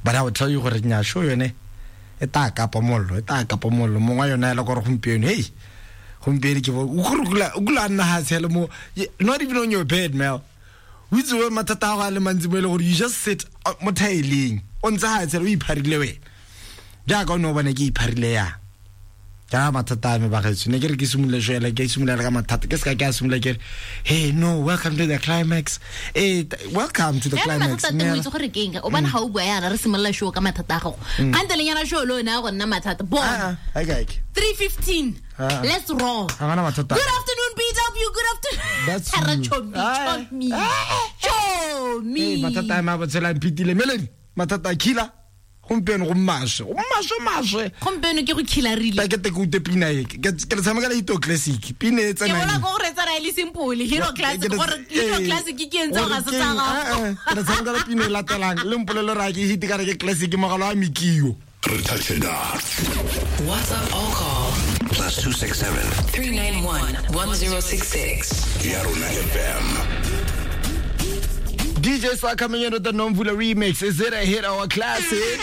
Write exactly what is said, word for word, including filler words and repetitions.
But I will tell you gore nya show yone e ta kapa mollo, e ta kapa mollo. Mongwe yona ela gore gompieno, hey, gompieno ke bo o gore o kula nna ha tshele mo, not even on your bed, Mel. O itse we mathata a go a le mantsi mo e le gore you just sit mo thaeleng, o ntse ha tshele o ipharile wena. Jaaka o ne o bone ke ipharile yang. Ka mathata a me bagaetsho, ne ke re ke simolole show ela, ke simolola ka mathata, ke seka ke a simolola ke re, hey no, welcome to the climax. Eh, welcome to the climax. Mathata teng o itse gore ke eng, o bona ga o bua yana re simolola show ka mathata a gago. Kgante le nyana show le one a go nna mathata. Bona. Ah, okay. three fifteen. Ah. Let's roll. Ga gona mathata. Good afternoon, B W. Good afternoon. That's you. you. Chomi, chomi. Chomi. Hey, mathata a me a botshelo a mphitile. Melody, mathata a killer. Gompieno go maswe, go maswe maswe. Gompieno ke go khilarile. Ta ke te ke ute pina e, ke ke le tshameka le Hito Classic. Pina e Ke tsenang. bona go re tsara e le simple, Hero Classic, gore Hero Classic ke eng tseo ga se tsa gago. Ke le tshameka le pina e latelang, le mpolele ra ke hit ka re ke classic mogalo wa Mikio. Re touch it up. WhatsApp or call plus two six seven three nine one one zero six six. Ya rona F M. D J Star coming in with the Nomvula remix. Is it a hit or a classic?